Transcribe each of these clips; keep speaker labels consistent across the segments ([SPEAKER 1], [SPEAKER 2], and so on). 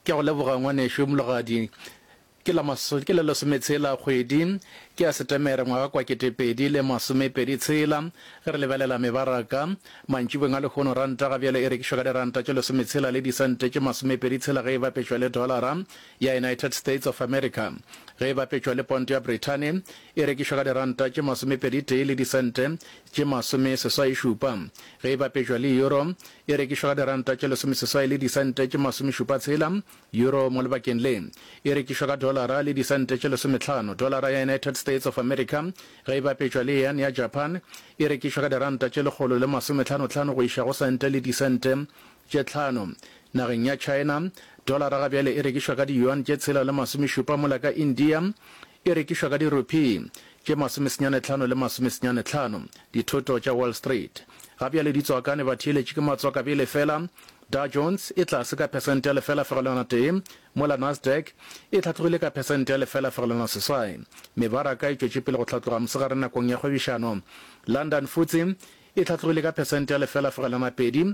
[SPEAKER 1] Ke a go leboga ngwanešu Mologadi. Ke la maso, ke la lesometshela kgwedi ke ya Setemere ngwaga kwa 2026. Ge re lebelela mebaraka mantšibeng a lehono, ranta ga bjale e rekišwa ka diranta tše lesometshela le disente tše masomepeditshela ge e bapetšwa le dolara ya United States of America. Ge e bapetšwa le ponto ya Brithani e rekišwa ka diranta tše masomepeditee le disente tše masomeseswai-šupa. Ge e bapetšwa le euro e rekišwa ka diranta tše lesomeseswai le disente tše masomešupa-tshela. Euro mo lebakeng le e rekišwa ka dolara le disente tše lesometlhano. Dolara ya United States of America ge e bapetšwa le yen ya Japan e rekišwa ka diranta tše lekgolo le masometlhanotlhano go iša go sente le disente tše tlhano. Nageng ya China, dolara ga bjale e rekišwa ka di-yuan tše tshela le masomešupa mola ka India e rekišwa ka di-rupee tše masomesenyanetlhano le masomesenyanetlhano. Dithoto tša Wall Street ga bjale di tswakane batheeletši ke matswakabele fela Dow Jones e tlase ka phesente ya 0.1, mola Nasdaq e hlatlogile ka phesente ya 0.8. Mebaraka e tšwetše pele go hlatloga mosegare nakong ya kgwebišano. London FTSE e hlatlogile ka phesente ya 0.2,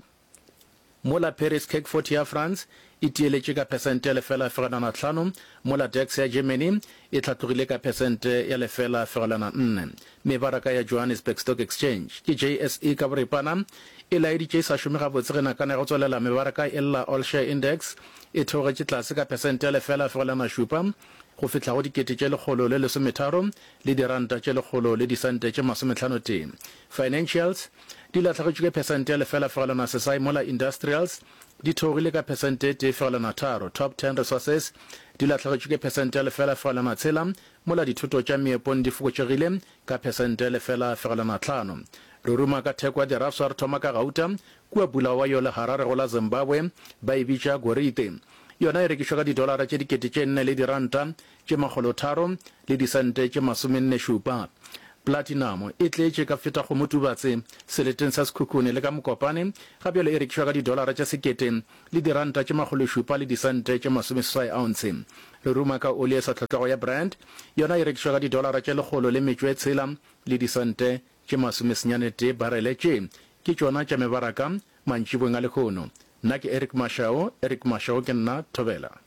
[SPEAKER 1] mola Paris CAC 40 ya France e tieletše ka phesente ya 0.5, mola DAX ya Germany e hlatlogile ka phesente ya 0.4. Mebaraka ya Johannesburg Stock Exchange, ke JSE ka boripana, e laeditše e sa šome gabotse ge nakana ya go tswelela mebaraka e lla All Share Index e theogetše tlase ka phesente ya 0.7 go fihla go 1,113 le diranta tše lekgolo le disente tše masometlhanotee. Financials di lahlegetšwe ke phesente ya 0.6 mola Industrials di theogile ka phesente e 1.3. Top Ten Resources di lahlegetšwe ke phesente ya 0.6 mola dithoto tša meepong di fokotšegile ka phesente 0.5. Re ruma ka theko ya dirafswa re thoma ka gauta kua Bulawayo le Harare go la Zimbabwe, ba e bitša gorite. Yona e rekišwa ka didolara tše 4000 le diranta tše makgolotharo le disente tše masomennešupa. Platinamo e tletše ka feta kgomotubatse seleteng sa Sekhukhune le ka Mokopane, ga bjale e rekišwa ka didolara tše sekete le diranta tše makgološupa le disente tše masomeseswai ounce. Re ruma ka oli e sa hlotlwago ya Brent, yona e rekišwa ka didolara tše lekgolo le metšo e tshela le disente tše masomesenyanetee barele. Tše ke tšona tša mebaraka mantšiboeng a lehono. Nna ke Eric Mashau, Eric Mashau ke nna, Thobela.